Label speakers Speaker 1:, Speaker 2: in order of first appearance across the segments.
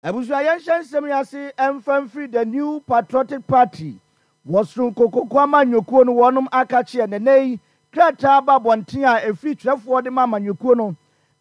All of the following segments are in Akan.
Speaker 1: Abusua yɛnhyɛ nsɛm yi ase mfa mfiri The New Patriotic Party wɔ Soronko Koko Amanyɔkuo no wɔnom akakyeɛ na ɛnɛ yi krataa aba abɔnten a ɛfiri twerɛfoɔ de ma amanyɔkuo no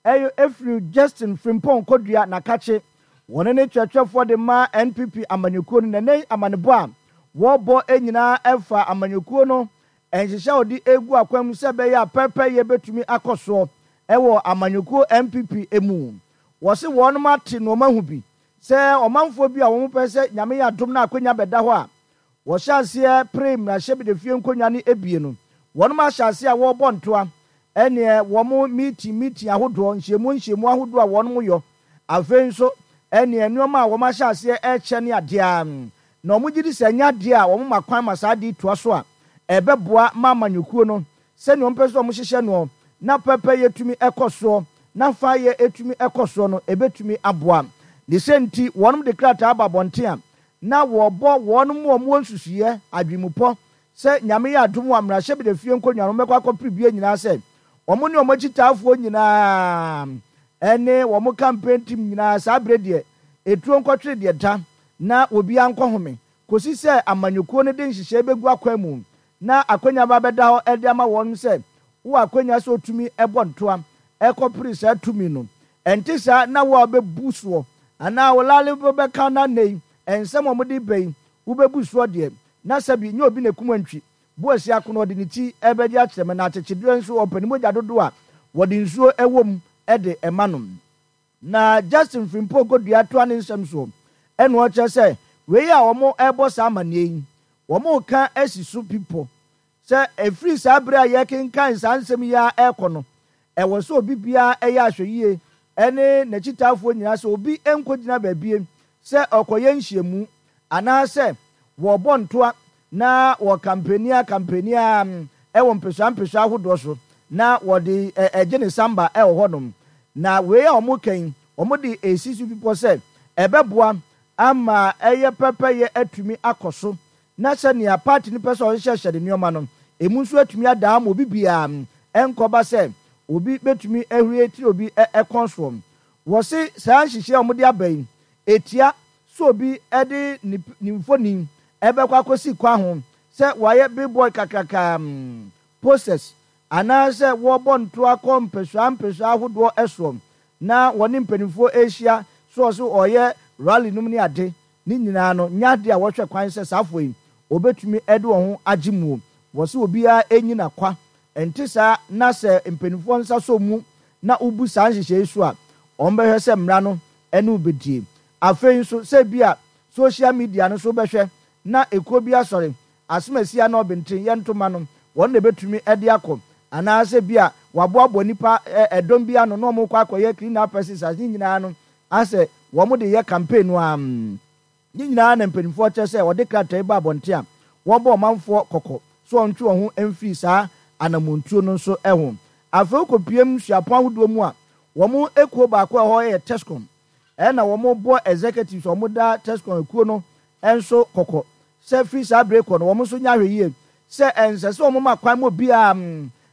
Speaker 1: ɛyɛ ɛfiri Justin Frimpong Kodua Nakakye wɔne ne twerɛtwerɛfoɔ de ma NPP amanyɔkuo no na ɛnɛ yi amanebɔ a wɔrebɔ nyinaa ɛfa amanyɔkuo no nhyehyɛ a wɔde regu akwan mu sɛ ɛbɛyɛ a pɛrpɛyɛ bɛtumi akɔ soɔ ɛwɔ amanyɔkuo NPP mu. Wɔse wɔnom ate nnoɔma hu bi sɛ ɔmanfoɔ bi a wɔn pɛ sɛ Nyame yɛ adom na akwanya bɛda hɔ a wɔhyɛ aseɛ pere mmarahyɛbedwafie nkonwa no abie no, wɔnom ahyɛ aseɛ a wɔrebɔ ntoa ɛneɛ wɔn meeting meeting ahodoɔ, nhyiamu nhyiamu ahodoɔ a wɔnom yɔ, afei nso ɛneɛ nnoɔma a wɔn ahyɛ aseɛ ɛrekyɛ ne adeɛ a na wɔn gyedi sɛ ɛnyɛ adeɛ a wɔn ma kwan ma saa adeɛ yi toa so a ɛbɛboa ma amanyɔkuo no Sɛnea wɔpɛ sɛ wɔhyehyɛ noɔ na pɛpɛyɛ tumi kɔ soɔ na faayɛ tumi kɔ soɔ no, ɛbɛtumi aboa. Ne sɛ nti, wɔnom de krataa aba abɔnten a na wɔrebɔ wɔnom a wɔwɔ nsusuiɛ, adwenmupɔ, sɛ Nyame yɛ adom a mmarahyɛbadwafie nkonnwa no wɔbɛkɔ akɔpere bie nyinaa sɛ wɔn ne wɔn akyitaafoɔ nyinaa ne wɔn campaign team nyinaa saa berɛ deɛ ɛtuo nkɔtwere deɛ da na obiara nkɔhome kɔsi sɛ amanyɔkuo no de nhyehyɛe bɛgu akwan mu na akwanya ba bɛda hɔ de ama wɔn sɛ wowɔ akwanya sɛ wotumi bɔ ntoa kɔpere saa tumi no. Ɛnte saa na wo a wobɛbu soɔ anaa wo lale bɛka na nnɛ yi nsɛm a wɔde reba yi wobɛbu soɔ deɛ, na sɛbi nyɛ obi na ɛkum antwi. Boasia ko no ɔde ne ti bɛgye akyerɛ me na akyekyedeɛ nso ɔpɛ ne mogya dodoɔ a wɔde nsuo wɔ mu de ma no. Na Justin Frimpong Kodua toa ne nsɛm soɔ ɛna ɔkyerɛ sɛ wei a wɔn rebɔ saa amaneɛ yi wɔn reka asi so pi pɔ sɛ ɛfiri saa berɛ a yɛrekenkan saa nsɛm yi ara rekɔ no ɛwɔ sɛ obi biara yɛ ahwɛyie ɛne n'akyitaafoɔ nyinaa sɛ obi nkɔgyina baabie sɛ ɔrekɔyɛ nhyiamu anaasɛ wɔrebɔ ntoa na wɔkampeni ara kampeni ara wɔ mpesua mpesua ahodoɔ so na wɔde gye ne samba wɔ hɔnom. Na wei a wɔreka yi, wɔde resi so bepɔ sɛ ɛbɛboa ama ɛyɛ pɛpɛyɛ atumi akɔ so na sɛnea party no pɛ sɛ ɔhyehyɛhyɛ ne nneɛma no, emu nso atumi ada ama obi biara ɛnkɔba sɛ obi bɛtumi ahuri atiri obi kɔn soɔ. Wɔse saa nhyehyɛe a wɔde aba yi, ɛtia sɛ obi de ne ne mfoni bɛkɔ akɔsi kwan ho sɛ wɔayɛ billboard kakraka, posters, anaasɛ wɔrebɔ ntoa kɔ mpɛsoa mpɛsoa ahodoɔ soɔ na wɔne mpanimfoɔ rehyia so wɔ so wɔreyɛ rally nom ne ade, ne nyinaa no nyɛ adeɛ a wɔhwɛ kwan sɛ saa afoɔ yi wɔbɛtumi de wɔn ho agye muo. Wɔse obiara nnyina kwa, ɛnte saa na sɛ mpanimfoɔ nsa sɔ mu na wobu saa nhyehyɛe yi so a, wɔbɛhwɛ sɛ mmara no ne wo bɛdie. Afei nso, sɛ ebia social media no so wobɛhwɛ na ekuo bi asɔre, asomasi anaa ɔbenten, yɛ ntoma no, wɔn na ɛbɛtumi de akɔ. Anaasɛ ebia wɔaboaboa nnipa ɛdɔm bi ano na wɔrekɔ akɔyɛ clean up exercise, ne nyinaa no asɛ wɔde yɛ campaign no ara. Ne nyinaa na mpanimfoɔ kyerɛ sɛ wɔde krataa yi ba abɔnten a wɔrebɔ ɔmanfoɔ kɔkɔ sɛ wɔntwe wɔn ho mfiri saa anammɔntuo no nso ho. Afei wokɔpiem suapɔn ahodoɔ mu a, wɔn ekuo baako a ɛwɔ hɔ yɛ TESCON. Ɛna wɔbɔ executives a wɔda TESCON ekuo no nso kɔkɔ sɛ firi saa bere kɔ no wɔn nso nyɛ ahwɛyie sɛ ɛnsɛ sɛ wɔma kwan ma obiara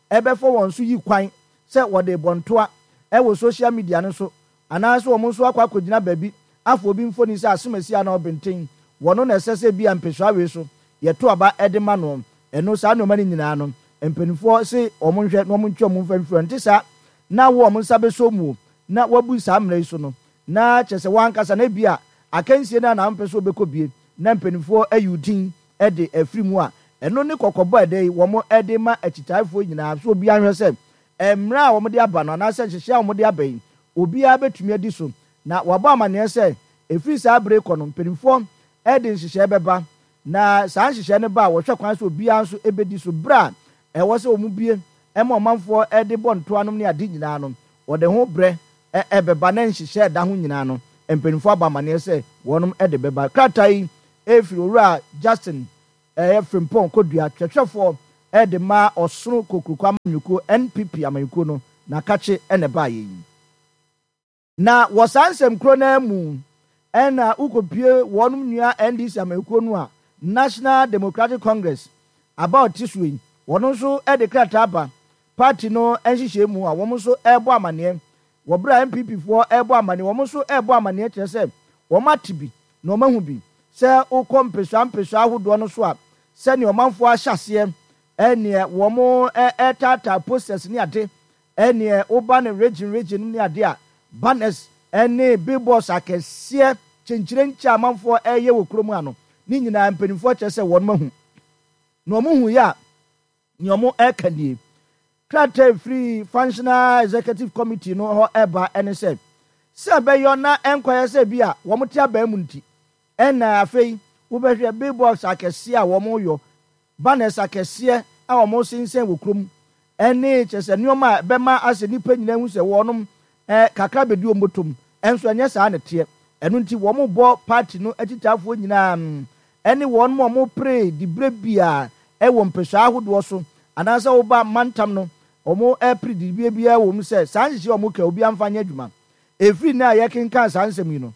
Speaker 1: bɛfa wɔn so yi kwan sɛ wɔde rebɔ ntoa wɔ social media no so Anaasɛ wɔn nso akɔ akɔgyina baabi afa obi mfoni sɛ asomasi anaa ɔbenten, wɔno na ɛsɛ sɛ ebia mpesua wei so yɛto aba de ma noɔ. Ɛno, saa nnoɔma no nyinaa no, mpaninfoɔ se wɔn nhwɛ na wɔn ntwe wɔn mfa mfiri hɔ. Ɛnte saa na wo a wɔn nsa bɛsɔ mu o, na woabu saa mmara yi so no, na kyerɛ sɛ wo ankasa no ebia akansie no ara na wompɛ sɛ wobɛkɔ bie na mpaninfoɔ ayi wo din de afiri mu a, ɛno ne kɔkɔbɔ a ɛdɛ yi wɔn de ma akyitaafoɔ nyinaa sɛ obiara nhwɛ sɛ Mmara a wɔde aba no anaasɛ nhyehyɛe a wɔde aba yi, obiara betumi adi so, na wɔabɔ amanneɛ sɛ ɛfiri saa bere rekɔ no, mpanimfoɔ de nhyehyɛe bɛba, na saa nhyehyɛe no ba a, wɔhwɛ kwan sɛ obiara nso bedi so. Bere a ɛwɔ sɛ wɔbue ma ɔmanfoɔ de bɔ ntoanom ne ade nyinaa no, wɔde ho brɛ bɛba, na nhyehyɛe a ɛda ho nyinaa no, mpanimfoɔ abɔ amanneɛ sɛ wɔnom de bɛba. Krataa yi firi Owura Justin Ɛyɛ Frimpong Kodua, kyerɛkyerɛfoɔ de ma Ɔsono Kokroko Amanyɔkuo, NPP amanyɔkuo no, n'akakye na ɛbaeɛ yi. Na wɔ saa nsɛm korɔ no ara mu na wokɔpue wɔnom nua NDC amanyɔkuo no a National Democratic Congress aba a ɔte soɔ yi, wɔn nso de krataa aba party no nhyehyɛɛ mu a wɔn nso rebɔ amaneɛ. Wɔ berɛ a NPP foɔ rebɔ amaneɛ, wɔn nso rebɔ amaneɛ kyerɛ sɛ Wɔate bi na wɔahu bi. Sɛ wokɔ mpesua mpesua ahodoɔ no so a, sɛdeɛ ɔmanfoɔ ahyɛ aseɛ neɛ wɔretaataa posters ne ade, neɛ woba no region region ne ade a, banners ne billboards akɛseɛ kyenkyerenkye a amanfoɔ reyɛ wɔ kurom ha no, ne nyinaa mpanimfoɔ kyerɛ sɛ wɔn ahu. Na wɔhuiɛ a, Nea wɔreka nie, Krataa a ɛfiri Functional Executive Committee no hɔ reba ne sɛ, sɛ ɛbɛyɔ na ɛnkɔyɛ sɛ bi a wɔte abaa mu nti na afei wobɛhwɛ billboards akɛseɛ a wɔyɔ, banners akɛseɛ a wɔsensɛn wɔ kurom ne kyerɛ sɛ nneɛma a ɛbɛma asɛ nnipa nyinaa ahu sɛ wɔnom kakra bɛdi wɔn bɔtɔm nso ɛnyɛ saa na ɛteɛ. Ɛno nti wɔbɔ party no akyitaafoɔ nyinaa ne wɔn a wɔpere diberɛ biara wɔ mpɛsua ahodoɔ so anaasɛ woba mantam no wɔpere diberɛ biara wɔ mu sɛ saa nhyehyɛɛ a wɔka yi obiara mfa nyɛ adwuma. Ɛfiri nnɛ a yɛkenkan saa nsɛm yi no,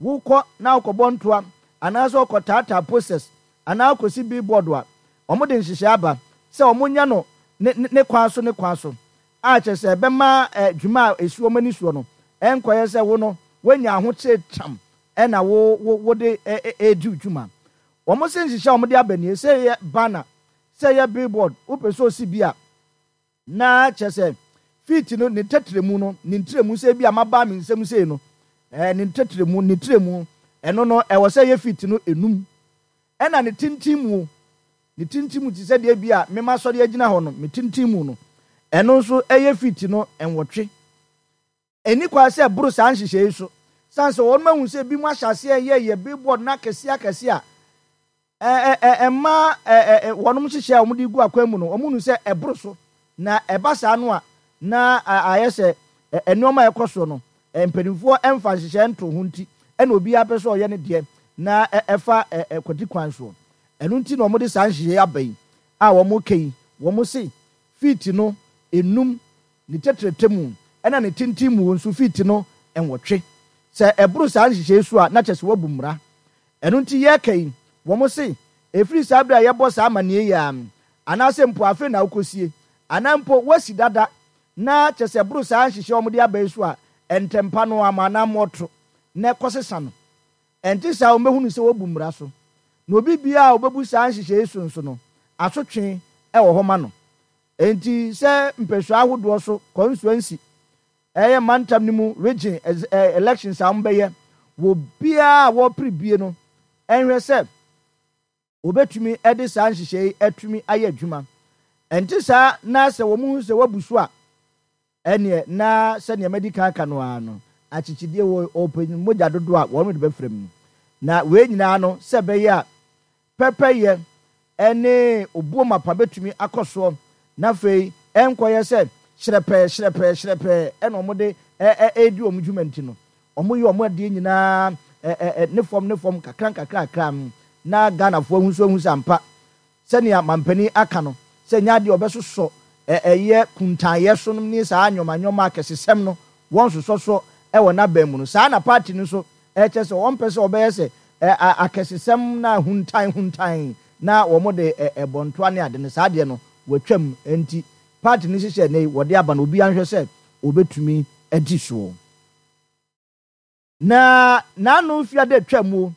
Speaker 1: wokɔ na wokɔbɔ ntoa anaasɛ wokɔtaataa posters anaa wokɔsi billboard a, wɔde nhyehyɛɛ aba sɛ wɔnyɛ no ne ne kwan so ne kwan so a kyerɛ sɛ ɛbɛma dwuma a ɛsi wɔn ani soɔ no ɛnkɔyɛ sɛ wo no woanya ahokyere tam na wo wo wode redi wo dwuma. Wɔn se nhyehyɛ a wɔde aba nie, sɛ ɛyɛ banner, sɛ ɛyɛ billboard, wopɛ sɛ osi bi a, na kyerɛ sɛ feet no ne tɛtrɛmu no, ne ntrɛmu sɛ ebi a mabaa me nsam sei no, ɛɛ ne tɛtrɛmu, ne trɛmu, ɛno no ɛwɔ sɛ ɛyɛ feet no enum. Ɛna ne tenten mu, ne tenten mu te sɛ deɛ ebi a mema sɔre agyina hɔ no, me tenten mu no, ɛno nso ɛyɛ feet no nwɔtwe. Enni kwan sɛ ɛboro saa nhyehyɛe yi so, esiane sɛ wɔn ahu sɛ ebinom ahyɛ aseɛ reyɛyɛ billboard no akɛseɛ akɛseɛ a ɛmma wɔn nhyehyɛe a wɔde gu akwan mu no, wɔhunu sɛ ɛboro so, na ɛba saa no a, na ayɛ sɛ nneɛma a ɛkɔ soɔ no, mpanimfoɔ mfa nhyehyɛe ntoo ho nti na obiara pɛ sɛ ɔyɛ ne deɛ na ɛfa kwati kwan soɔ. Ɛno nti na wɔde saa nhyehyɛe yi aba yi a wɔreka yi, wɔse feet no nnum ne tɛtrɛtɛ mu, ɛna ne tenten mu nso feet no nwɔtwe. Sɛ ɛboro saa nhyehyɛe yi so a, na kyerɛ sɛ wɔabu mmara. Ɛno nti yɛreka yi, wɔse, ɛfiri saa berɛ a yɛbɔ saa amanneɛ yi ara, anaasɛ mpo afei na wokɔsie, anaa mpo woasi dada, na kyerɛ sɛ ɛboro saa nhyehyɛe a wɔde aba yi so a, ntɛmpa no ara ma anammɔn to na ɛkɔsesa no. Ɛnte saa a, wɔbɛhunu sɛ wɔabu mmara so. Na obi biara a ɔbɛbu saa nhyehyɛe yi so nso no, asotwe wɔ hɔ ma no. Enti sɛ mpɛsua ahodoɔ so constituency ɛyɛ mantam no mu region elections a wɔbɛyɛ wɔ biara a wɔrepere bie no nhwɛ sɛ wɔbɛtumi de saa nhyehyɛe yi atumi ayɛ adwuma. Ɛnte saa na sɛ wɔhu sɛ wɔabu so a, ɛneɛ na sɛdeɛ madi kan aka no ara no, akyekyedeɛ wɔ ɔpanyin mogya dodoɔ a wɔn de bɛfra mu. Na wei nyinaa no sɛ ɛbɛyɛ a pɛpɛyɛ ne obuo mapa bɛtumi akɔ soɔ, na afei ɛnkɔyɛ sɛ hyerɛpɛɛ hyerɛpɛɛ hyerɛpɛɛ na wɔde redi wɔn dwuma nti no, wɔyɛ wɔn adeɛ nyinaa ne fam ne fam kakra nkakra kakra na Ghanafoɔ ahu nso ahu sɛ ampa sɛnea mampanin aka no sɛ ɛnyɛ adeɛ a wɔbɛsosɔ ɛyɛ kuntaayɛ so nom ne saa nneɛma nneɛma akɛsesɛm no wɔnsosɔ so wɔ n'aban mu no, saa na party no nso Ɛkyerɛ sɛ wɔmpɛ sɛ wɔbɛyɛ sɛ akɛsesɛm na huntan huntan na wɔde bɔ ntoa ne ade no, saa deɛ no wɔatwam. Enti party no nhyehyɛɛ nnɛ yi wɔde aba no obiara nhwɛ sɛ ɔbɛtumi adi soɔ. Na n'ano mfiada atwam o,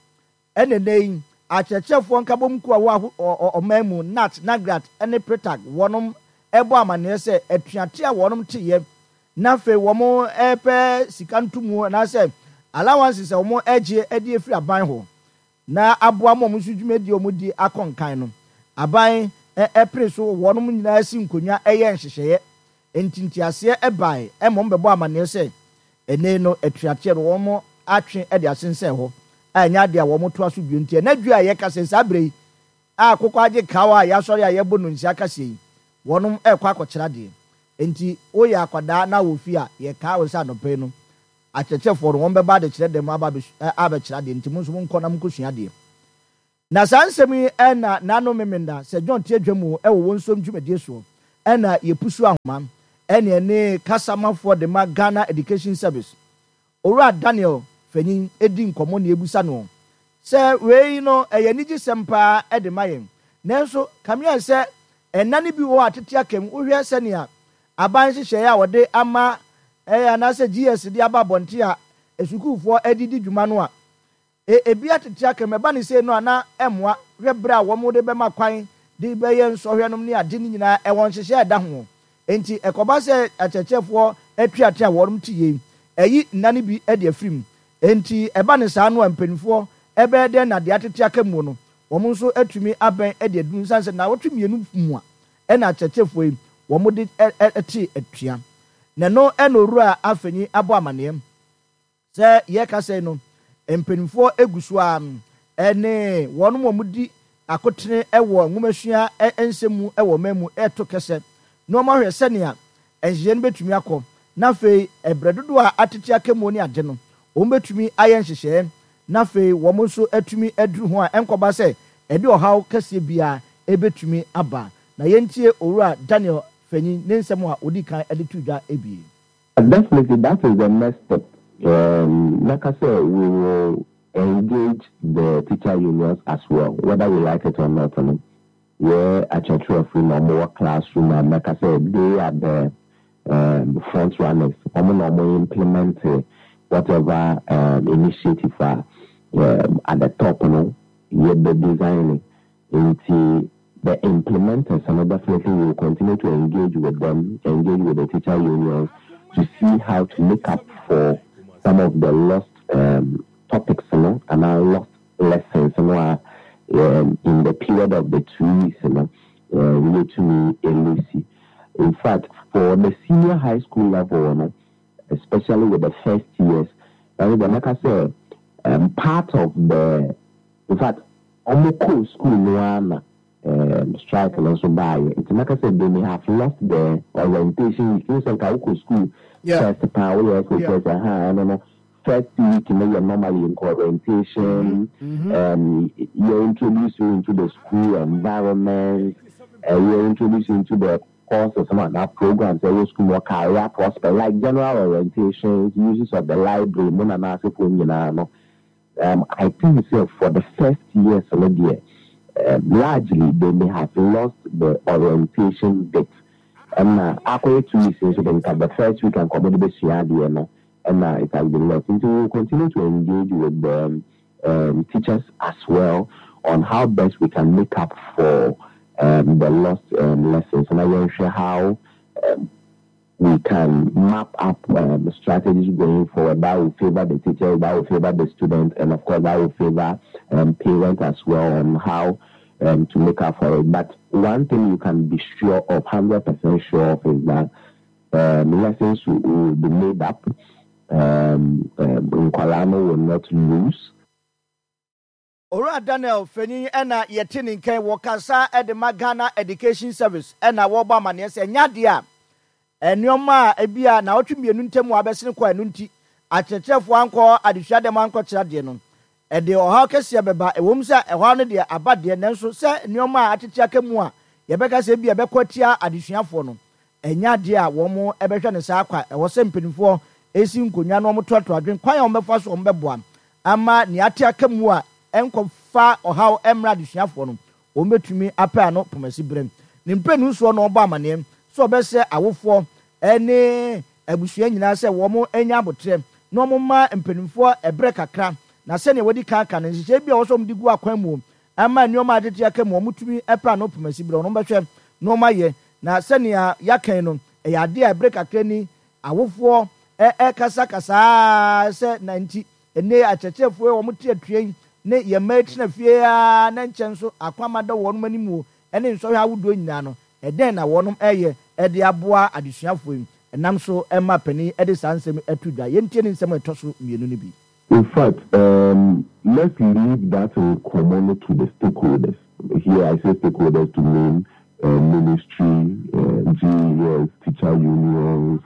Speaker 1: ɛna nnɛ yi akyerɛkyerɛfoɔ nkabom kuo a ɛwɔ ɔman mu, NAT, NAGRAT ne PRETAG wɔnom bɔ amaneɛ sɛ atuateɛ a wɔnom teeɛ na afei wɔrepɛ sika ntomu anaasɛ allowances a wɔregye de afiri aban hɔ na aboa ma wɔn nso dwumadie a wɔdi akɔ nkan no, aban pere so wɔnom nyinaa si nkonnwa yɛ nhyehyɛeɛ. Enti nteaseɛ baeɛ ma wɔbɛbɔ amaneɛ sɛ ɛnnɛ no atuateɛ no wɔatwe de asensɛn hɔ a ɛnyɛ adeɛ a wɔtoa so bio. Nti ɛnnɛ dwo a yɛkasa yi saa berɛ yi a akokɔ agye kaw a yɛasɔre a yɛbɔ nnonsia kaseɛ yi, wɔnom rekɔ akɔkyerɛ adeɛ. Enti woyɛ akwadaa na wɔ fie a, yɛkaa wo sɛ anɔpa yi no, akyerɛkyerɛfoɔ no, wɔbɛba adekyerɛ dɛm aba abɛkyerɛ adeɛ, nti mo nso monkɔ na monkɔsua adeɛ. Na saa nsɛm yi na n'ano memenda sɛ John te adwa mu wɔ wɔn nsuom dwumadie soɔ na yɛpusu ahoma ɛne ɛne kasamafoɔ de ma Ghana Education Service Owura Daniel Fanyin di nkɔmmɔ na yɛbisa noɔ sɛ wei no ɛyɛ anigyesɛm paa de ma yɛn nanso kame ayɛ sɛ nna no bi wɔ hɔ a tete aka mu wohwɛ sɛnea aban nhyehyɛeɛ a wɔde ama anaasɛ GS de aba abɔnten a asukuufoɔ de di dwuma no a. E Ebi atete aka mu, ɛba no sei no a na ɛmmoa. Hwɛ bere a wɔde bɛma kwan de bɛyɛ nsɔhwɛ nom ne ade no nyinaa, ɛwɔ nhyehyɛe a ɛda ho. Enti ɛkɔba sɛ akyerɛkyerɛfoɔ atuatea a wɔnom te yei, ɛyi nna no bi de afiri mu. Enti ɛba no saa no a mpanimfoɔ bɛyɛ dɛn na deɛ atete aka muo no, wɔn nso atumi abɛn de aduru ɛsiane sɛ nnawɔtwe mmienu mua na akyerɛkyerɛfoɔ yi wɔde te atua. Na ɛno na Owura Afenyi abɔ amaneɛ. Sɛ yɛrekasa yi no, mpanimfoɔ gu so ara ne wɔn a wɔdi akotene wɔ nwomasua nsɛm mu wɔ ɔman mu reto kɛsɛ na wɔahwɛ sɛnea nhyehyɛe no bɛtumi akɔ, na afei berɛ dodoɔ a atete aka mu ne ade no, wɔbɛtumi ayɛ nhyehyɛe na afei wɔn nso atumi aduru ho a ɛnkɔba sɛ ɛde ɔhaw kɛseɛ biara bɛtumi aba. Na yɛntie Owura Daniel Fanyin ne nsɛm a ɔdii kan de too dwa bi.
Speaker 2: Definitely that is the next step um mɛka sɛ we will engage the teacher unions as well whether we like it or not no yɛ akyerɛkyerɛfo yi na wɔn wɔ classroom a mɛka sɛ they are the um front runners wɔn na wɔn implement whatever um initiative a um at the top no yɛ bɛ design Nti the implementers no definitely we will continue to engage with them, engage with the teacher unions to see how to make up for some of the lost um, topics no anaa lost lessons no a um, in the period of the 2 weeks no um, yɛtumi elusi. In fact, for the senior high school level no, especially with the first years, ɛno deɛ mɛka sɛ um, part of the In fact, ɔmo kɔɔ school no ara na ehm strike no nso baayɛ. Nti mɛka sɛ they may have lost the orientation week. Wohu sɛ nka wokɔ school first paa, woyɛ SHS ahaa, ɛno no first week no yɛ normally nka orientation, ehm yɛ introduce you into the school environment, yɛ introduce you into the courses no anaa programs a ɛwɔ school mu hɔ, career prospect, like general orientations, uses of the library mu na n'asefoɔ nyinaa no. Um I think sɛ for the first years no deɛ um largely they may have lost the orientation bit ɛna akɔyɛ 2 weeks nso de nka the first week anka wɔde bɛsua adeɛ no ɛna it has been lost nti we will continue to engage with the um teachers as well on how best we can make up for um the lost um lessons na yɛnhwɛ how um we can map up um, strategies going forward that will favor the teachers, that will favor the students, and of course that will favor um, parents as well on how um, to make up for it. But one thing you can be sure of, 100% sure of, is that lessons will, will be made up. Um, will not lose.
Speaker 1: Owura Daniel Fenin na yɛte ne nka yi, wɔkasa de ma Ghana Education Service na wɔrebɔ amaneɛ sɛ ɛnyɛ adeɛ a nneɛma a ebia naawɔtwe mmienu ntam a abɛsene kɔ a ɛno nti akyerɛkyerɛfoɔ ankɔ adesua dɛm ankɔkyerɛ adeɛ no, ɛde ɔhaw kɛseɛ bɛba. Ɛwom sɛ ɛhaw no deɛ aba deɛ, nanso sɛ nneɛma a atete aka mu a yɛbɛka sɛ ebia ɛbɛkɔ atia adesuafoɔ no, Ɛnyɛ adeɛ a wɔbɛhwɛ no saa kwa. Ɛwɔ sɛ mpanimfoɔ si nkonnwa na wɔtoatoa adwene kwan a wɔbɛfa so a wɔbɛboa ama nea ate aka mu a ɛnkɔfa ɔhaw mmra adesuafoɔ no, wɔbɛtumi apɛ ano pomasi berɛ. Ne mprenu soɔ na ɔbɔ amaneɛ sɛ ɔbɛsrɛ awofoɔ ne abusua nyinaa sɛ wɔnyɛ aboterɛ na wɔmma mpanimfoɔ ɛberɛ kakra na sɛdeɛ wɔadi kan aka no, nhyehyɛeɛ bi a ɛwɔ sɛ wɔde gu akwan mu ama nneɛma a atete aka mu a wɔtumi pɛ ano pomasi berɛ no, wɔbɛhwɛ na wɔayɛ. Na sɛnea yɛaka yi no, ɛyɛ ade a bere kakra ni awofoɔ rekasakasa ara sɛ na nti ɛnnɛ yi akyerɛkyerɛfoɔ yi a wɔte atua yi ne yɛn mma yi tena fie ara na nkyɛ nso akwamma da wɔnom anim o ne nsɔhwɛ ahodoɔ nyinaa no, ɛdɛn na wɔnom reyɛ de aboa adesuafoɔ yi? Ɛnam so ma panin de saa nsɛm yi to dwa. Yɛntie ne nsɛm a ɛtɔ so mmienu no bi.
Speaker 2: In fact, let's leave that nkɔmmɔ no to the stakeholders. Here I say stakeholders to mean ministry, GES, teacher unions,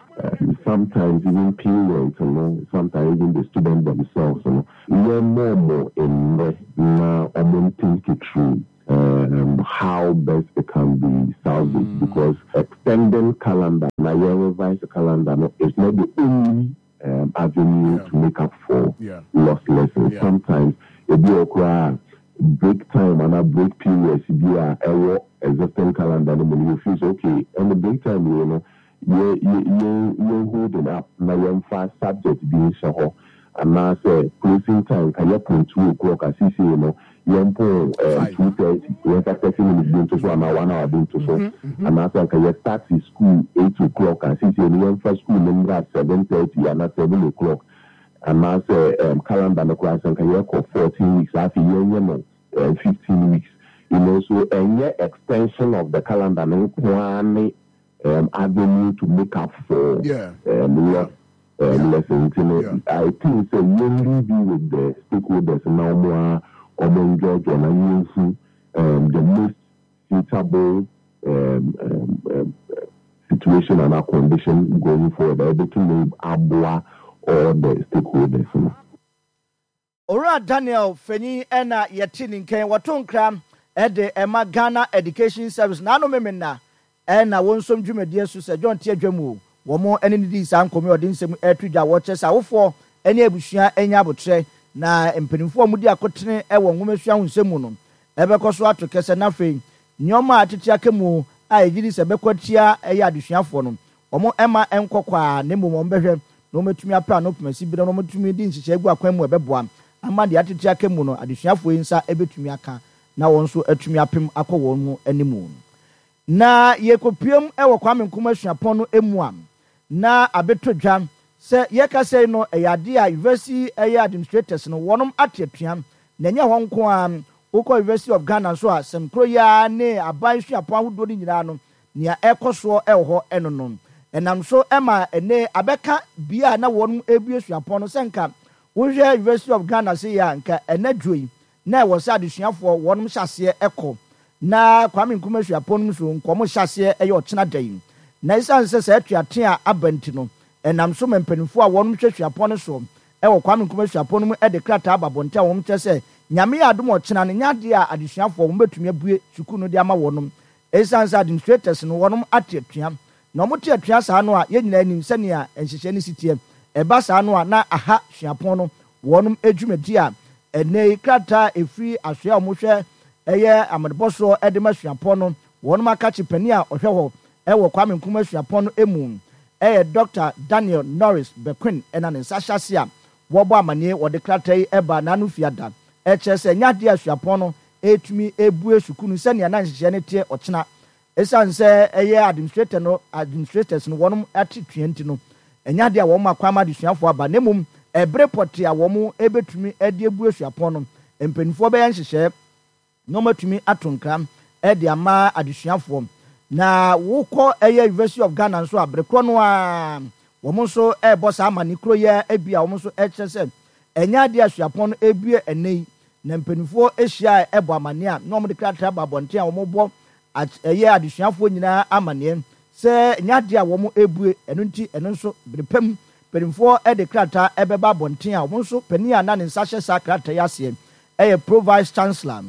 Speaker 2: sometimes even parents no, sometimes even the students themselves no. Yɛmmɔ wɔn mmerɛ na wɔn think through how best it can be salvaged because extending calendar na yɛn revise calendar no is not the only avenue to make up for lost lessons. Sometimes ebi wɔ hɔ koraa a break time anaa break periods bi a ɛwɔ existing calendar no mu no you feel sɛ okay ɛnde break time wei no yɛ yɛ yɛn yɛn holding up na yɛmfa subject bi nhyɛ hɔ. Anaasɛ closing time nka yɛpon 2 o'clock a, seesei no yɛmpon 2:30, yɛmfa 30 minutes bi nto so anaa one hour bi nto so. Anaasɛ anka yɛ start school 8 o'clock a, seesei no yɛmfa school no mmra 7:30 anaa 7 o'clock. Anaasɛ calendar no koraa, sɛ nka yɛkɔ 14 weeks, afei yɛnyɛ no 15 weeks. So ɛnyɛ extension of the calendar no nko ara ne avenue to make up for lost lesson. Nti no, I think sɛ yɛn leave with the stakeholders na wɔn a wɔn ndwɔdwɔ na yɛnhu the most suitable situation and condition going forward a ɛbɛtumi aboa all the stakeholders no.
Speaker 1: Owura Daniel Fenyi na yɛte ne nkan wɔto nkra de ma Ghana Education Service n'ano memena na wɔnsom dwumadie so sɛ John te adwa mu o, wɔn ne no dii saa nkɔmmɔ yi a ɔde nsɛm reto dwa a wɔkyerɛ sɛ awofoɔ ne abusua nya aboterɛ na mpanimfoɔ a wɔdi akotene wɔ nwomasua ho nsɛm mu no bɛkɔ so ato kɛsɛ na afei nneɛma a atete aka mu a yɛgye di sɛ ɛbɛkɔ atia ɛyɛ adesuafoɔ no wɔn mma ɛnkɔ kwa ara na mmom wɔbɛhwɛ na wɔatumi apɛ ano pomasi bere na wɔatumi de nhyehyɛe agu akwan mu a ɛbɛboa ama deɛ atete aka mu no adesuafoɔ yi nsa bɛtumi aka na wɔn nso atumi apem akɔ wɔn mu anim. Na yɛkɔpuem wɔ Kwame Nkrumah Suapɔn no mu a, na abɛtɔ dwa sɛ yɛkasa yi no ɛyɛ adeɛ a University ɛyɛ administrators no wɔnom ate atua, na ɛnyɛ hɔ nko ara, wokɔ University of Ghana nso a sɛm korɔ yi ara ne aban suapɔn ahodoɔ no nyinaa no nea ɛrekɔ soɔ wɔ hɔ no no. Ɛnam so ma ɛnnɛ abɛka bea a na wɔnom rebue suapɔn no sɛ nka wohwɛ University of Ghana sei a nka ɛnɛ dwo yi na ɛwɔ sɛ adesuafoɔ wɔnom hyɛ aseɛ kɔ na Kwame Nkrumah suapɔn no mu nso nka wɔn hyɛ aseɛ yɛ ɔkyena da yi. Na ɛsiane sɛ saa atuatea a aba nti no ɛnam so ma mpanimfoɔ a wɔnom hwɛ suapɔn no soɔ wɔ Kwame Nkrumah Suapɔn no mu de krataa aba abɔnten a wɔn kyerɛ sɛ Nyame yɛ adom a ɔkyena no nyɛ adeɛ a adesuafoɔ wɔn bɛtumi abue sukuu no de ama wɔnom Esiane sɛ administrators no wɔnom ate atua, na wɔte atua saa no a yɛn nyinaa nim sɛnea nhyehyɛe no si teɛ. Ɛba saa no a na aha suapɔn no wɔnom dwumadi a ɛnnɛ yi krataa a ɛfiri asoɛ a wɔhwɛ ɛyɛ amanebɔ soɔ de ma suapɔn no wɔnom akakye panin a ɔhwɛ hɔ wɔ Kwame Nkrumah suapɔn no mu ɛyɛ Dɔkta Daniel Norris Bequin na ne nsa hyɛ ase a wɔbɔ amaneɛ wɔde krataa yi ba n'ano fiada ɛkyerɛ sɛ ɛnyɛ adeɛ a suapɔn no retumi abue sukuu no sɛnea na nhyehyɛe no teɛ ɔkyena. Esiane sɛ ɛyɛ administrator no administrators no wɔnom ate tua nti no, ɛnyɛ adeɛ a wɔma kwan ma adesuafoɔ aba na mmom ɛbere pɔtee a wɔn bɛtumi de abue suapɔn no, mpanimfoɔ bɛyɛ nhyehyɛe na wɔatumi ato nkra de ama adesuafoɔ. Na wokɔ ɛyɛ University of Ghana nso a, bere korɔ no ara wɔn nso rebɔ saa amanne koro yi ara bi a wɔn nso rekyerɛ sɛ ɛnyɛ adeɛ a suapɔn no rebue ɛnnɛ yi na mpanimfoɔ hyia a ɛbɔ amanneɛ a na wɔde krataa ba abɔnten a wɔbɔ ɛyɛ adesuafoɔ nyinaa amanneɛ sɛ ɛnyɛ adeɛ a wɔrebue. Ɛno nti ɛno nso bere pa mu mpanimfoɔ de krataa bɛba abɔnten a wɔn nso panin a na ne nsa hyɛ saa krataa yi aseɛ yɛ Pro Vice Chancellor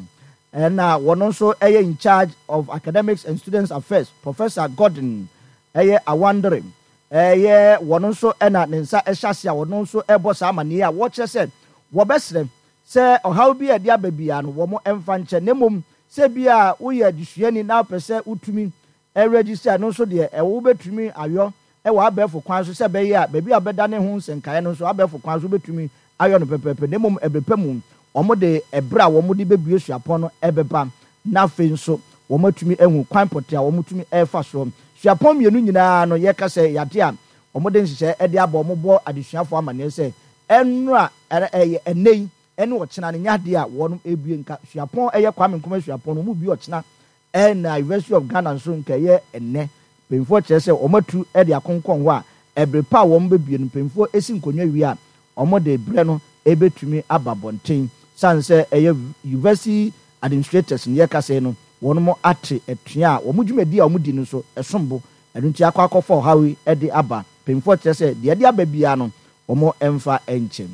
Speaker 1: ɛna wɔn nso yɛ in charge of Academics and Students Affairs Professor Gordon ɛyɛ Awandere ɛyɛ wɔn nso na ne nsa hyɛ ase a wɔn nso rebɔ saa amanneɛ yi a wɔkyerɛ sɛ wɔbɛsrɛ sɛ ɔhaw bi a ɛde aba biara no wɔn mfa nkyɛ na mmom sɛ ebia woyɛ adesuani na wopɛ sɛ wotumi register ɛno nso deɛ ɛwɔ wobɛtumi ayɔ wɔ abɛɛfo kwan so sɛ ɛbɛyɛ a baabi a wobɛdane ho nsɛnkaeɛ no nso abɛɛfo kwan so wobɛtumi ayɔ no pɛpɛɛpɛ na mmom ɛberɛ pa mu wɔde ɛberɛ a wɔde bɛbue suapɔn no bɛba na afei nso wɔatumi ahu kwan pɔtee a wɔtumi fa soɔ. Suapɔn mmienu nyinaa no yɛka sɛ ɛyɛ adeɛ a wɔde nhyehyɛeɛ de aba, wɔbɔ adesuafoɔ amaneɛ sɛ ɛnnora, ɛyɛ ɛnnɛ yi ne ɔkyena no nyɛ adeɛ a wɔn rebue nka suapɔn ɛyɛ Kwame Nkrumah suapɔn no wɔrebue ɔkyena Ɛna University of Ghana nso nka ɛyɛ ɛnnɛ. Mpanyinfoɔ kyerɛ sɛ wɔn atu de akonkɔn hɔ a ɛbere pa a wɔn bɛbue no mpanyinfoɔ si nkonnwa wie a wɔn de berɛ no bɛtumi aba abɔnten. Sane sɛ ɛyɛ University administrators no yɛka sɛi no wɔn ate atua a wɔn dwumadie a wɔn di no nso ɛsom bo ɛno nti akɔ akɔfa ɔhaw yi de aba. Mpanyinfoɔ kyerɛ sɛ deɛ ɛde aba biara no wɔn mfa nkyɛ.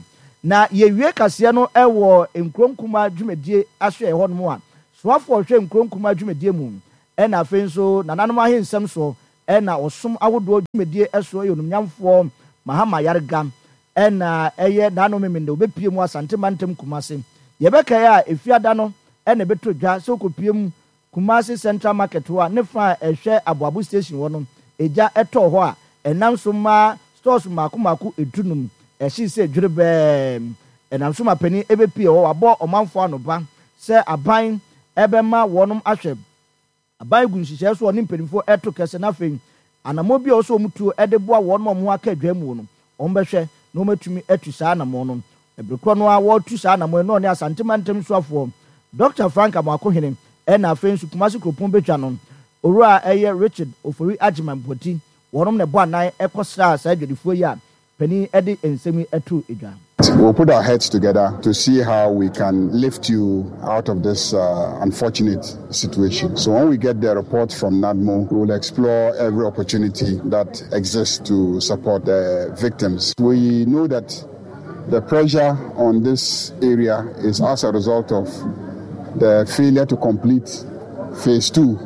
Speaker 1: Na yɛwie kaseɛ no wɔ nkuro nkumaa dwumadie asoɛeɛ hɔ nom a, soafoɔ a ɔhwɛ nkuro nkumaa dwumadie mu, ɛna afei nso nananom ahensɛm soɔ ɛna ɔsom ahodoɔ dwumadie soɔ yɛ onumnyamfoɔ Mahama Ayariga ɛna ɛyɛ n'ano Memenda ɔbɛpue mu Asante mantam Kumase. Yɛbɛkae a Efiada no ɛna ɛbɛtɔ dwa sɛ ɔkɔpue mu Kumasi Central Market hɔ a ne fa a ɛhwɛ Aboabo Station hɔ no, egya tɔɔ hɔ a ɛnam so maa stores mmaako mmaako dunum. Ɛhyee sɛ dwerɛbɛɛ. Ɛnam so ma panin bɛpue hɔ. Wabɔ ɔmanfoɔ anoba sɛ aban bɛma wɔnom ahwɛ aban gu nhyehyɛɛ so a ɔne mpanimfoɔ reto kɛsɛ na afei anammɔn bi a ɛwɔ sɛ wɔn tuo de boa wɔnom a wɔn ho aka adwaa muo no, wɔn bɛhwɛ na wɔn atumi atu saa anammɔn no. Bere korɔ no ara wɔretu saa anammɔn yi na ɔne Asante Mantam Soafoɔ Dɔkta Frank Amoakohene ɛna afei nso Kumasi Kuropɔn Badwa no Owura a ɛyɛ Richard Ofori Agyeman Boadi wɔnom na ɛbɔ anan kɔsraa saa adwadifoɔ yi a panin de nsɛm yi too dwa.
Speaker 3: We'll put our heads together to see how we can lift you out of this uh, unfortunate situation. So when we get the report from NADMO, we will explore every opportunity that exists to support the victims. We know that the pressure on this area is as a result of the failure to complete phase two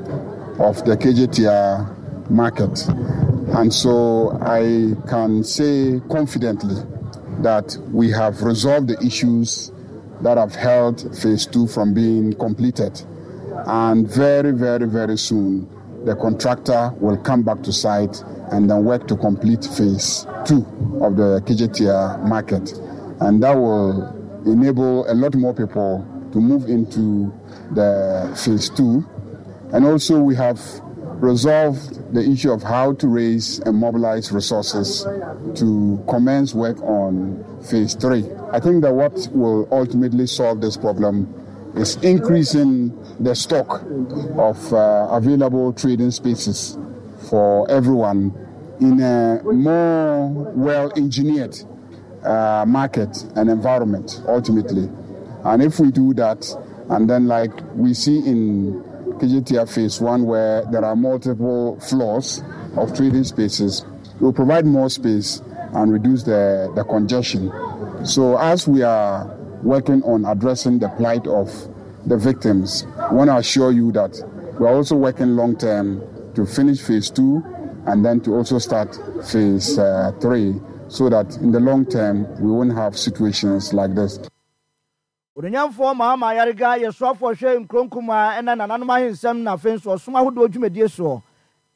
Speaker 3: of the KJTR market. And so I can say confidently that we have resolved the issues that have held phase two from being completed. And very, very, very soon, the contractor will come back to site and then work to complete phase two of the Kejetia market. And that will enable a lot more people to move into the phase two. And also, we have resolved the issue of how to raise and mobilize resources to commence work on phase three. I think that what will ultimately solve this problem is increasing the stock of uh, available trading spaces for everyone in a more well engineered uh, market and environment ultimately. And if we do that, and then like we see in KJTF phase one where there are multiple floors of trading spaces, we'll provide more space and reduce the, the congestion. So as we are working on addressing the plight of the victims, I want to assure you that we are also working long term to finish phase two and then to also start phase uh, three so that in the long term we won't have situations like this.
Speaker 1: Onuonyamfoɔ Mahama Ayariga yɛ soafoɔ hwɛ nkuro nkumaa ɛna nananom ahensɛm na afei nso ɔsom ahodoɔ dwumadie soɔ.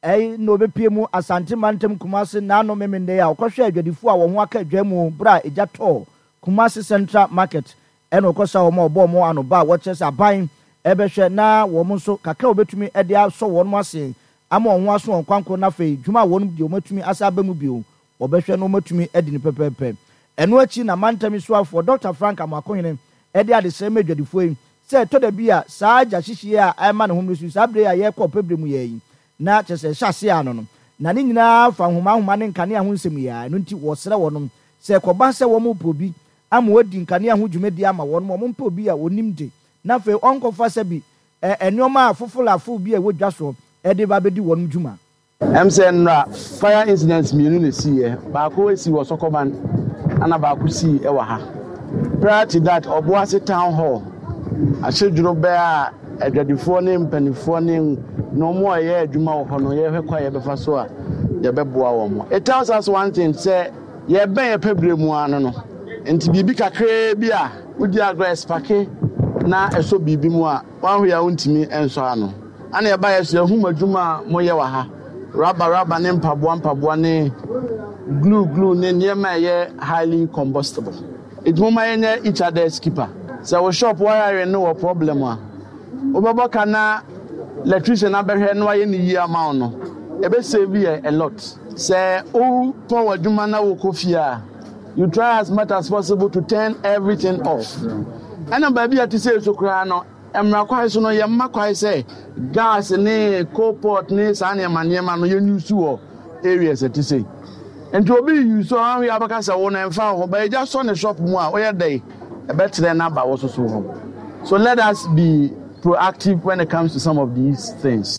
Speaker 1: Ɛyi na ɔbɛpue mu Asante mantam Kumase naano Memende a ɔkɔhwɛɛ adwadifoɔ a wɔn ho aka adwa mu berɛ a egya tɔɔ Kumase Central Market ɛna ɔkɔsraa wɔn a ɔbɔɔ wɔn anoba a wɔkyerɛ sɛ aban ɛbɛhwɛ na wɔn nso kakra a wɔbɛtumi de asɔ wɔn ase ama wɔn ho aso wɔn kwankoro na afei dwuma a wɔn deɛ wɔatumi asa aba mu bio Wɔbɛhwɛ na wɔatumi adi no pɛpɛɛpɛ. Ɛno akyi na mantam yi soafoɔ, Dɔkta Frank Amoakohene de adesrɛ ma adwadifoɔ yi sɛ ɛtɔ da bi a saa gya hyehyeɛ a ɛrema ne ho mmere so yi, saa berɛ yi a yɛrekɔ ɔpɛ berɛ mu yi ara yi, na kyerɛ sɛ ɛhyɛ aseɛ ano no, na ne nyinaa fa nhoma nhoma ne nkanea ho nsɛm yi ara. Ɛno nti wɔsrɛ wɔnom sɛ ɛkɔba sɛ wɔrepɛ obi ama wadi nkanea ho dwumadie ama wɔnom a, wɔmpɛ obi a ɔnim de, na afei ɔnkɔfa sɛbi nneɛma a fofolafow bi a ɛwɔ dwa soɔ de ba abɛdi wɔnom dwuma.
Speaker 4: Ɛm sɛ nnora fire incidents mmienu na ɛsiiɛ, baako sii wɔ Sɔkɔban ɛna baako sii wɔ ha. Prior to that, Ɔboase Town Hall ahyedworo bɛ a adwadifoɔ ne mpanifoɔ ne na wɔn a ɛyɛ adwuma wɔ hɔ no yɛhwɛ kwan a yɛbɛfa so a yɛbɛboa wɔn. It tells us one thing sɛ yɛbɛn yɛpɛ berɛ mu ara no no nti biribi kakraa bi a wodi agorɔ ɛspake na ɛsɔ biribi mu a Wanhwɛ a wontumi nsɔ ano. Ana yɛbaeɛ so yɛahu mo adwuma a moyɛ wɔ ha, raba raba ne mpaboa mpaboa ne glue glue ne nneɛma a ɛyɛ highly combustible. Nti momma yɛnyɛ each other's keeper. Sɛ wo shop wiring no wɔ problem a, wobɛbɔ ka na electrician abɛhwɛ na wayɛ no yie ama wo no, ɛbɛ save yɛ a lot. Sɛ wopɔn w'adwuma na wokɔ fie a, you try as much as possible to turn everything off. Ɛna baabi a ɛte sei so koraa no, mmara kwan so no, yɛmma kwan sɛ gas ne coal pot ne saa nneɛma nneɛma no yɛn use wɔ areas ɛte sei. Nti obi use a ɔanhwɛ a ɔbɛka sɛ wo no ɛmfa wo ho, but egya sɔ ne shop mu a woyɛ dɛn? Ɛbɛtrɛ no aba wo so so hɔ. So let us be proactive when it comes to some of these things.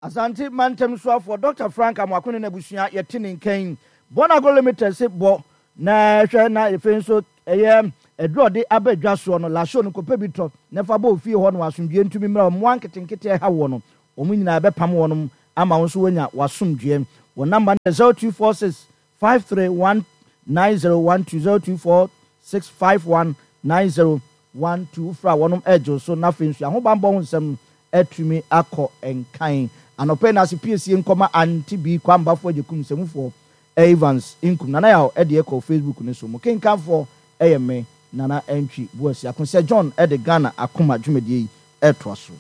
Speaker 1: Asante Mantam Soafoɔ Dɔkta Frank Amoako ne n'abusua yɛte ne nka yi. Bonago Limited se bɔ na hwɛ na afei nso ɛyɛ aduru a ɔde aba dwa soɔ no, Lasho no kɔpɛ bi tɔ na fa bɔ ofie hɔ na w'asomdwoeɛ ntumi mmra hɔ. Mmoa nketenkete a ɛha woɔ no, wɔn nyinaa ɛbɛpam wɔnom ama wo nso woanya w'asomdwoeɛ. Wɔn namba no yɛ 0246 531 9012, 0246 51 90 12. Wofrɛ a wɔnom regye wo so na afei nso ahobanbɔ ho nsɛm no atumi akɔ nkan. Anɔpa yi na ase piesie nkɔma Aunty Bee Kwambafo Agyekum Nsamufoɔ. Evans Nkum. Nana Yaw de ɛkɔ Facebook no so. Mo kenkanfoɔ yɛ me, Nana Antwi Boasiako. Sir John de Ghana Akoma dwumadie yi retoa so.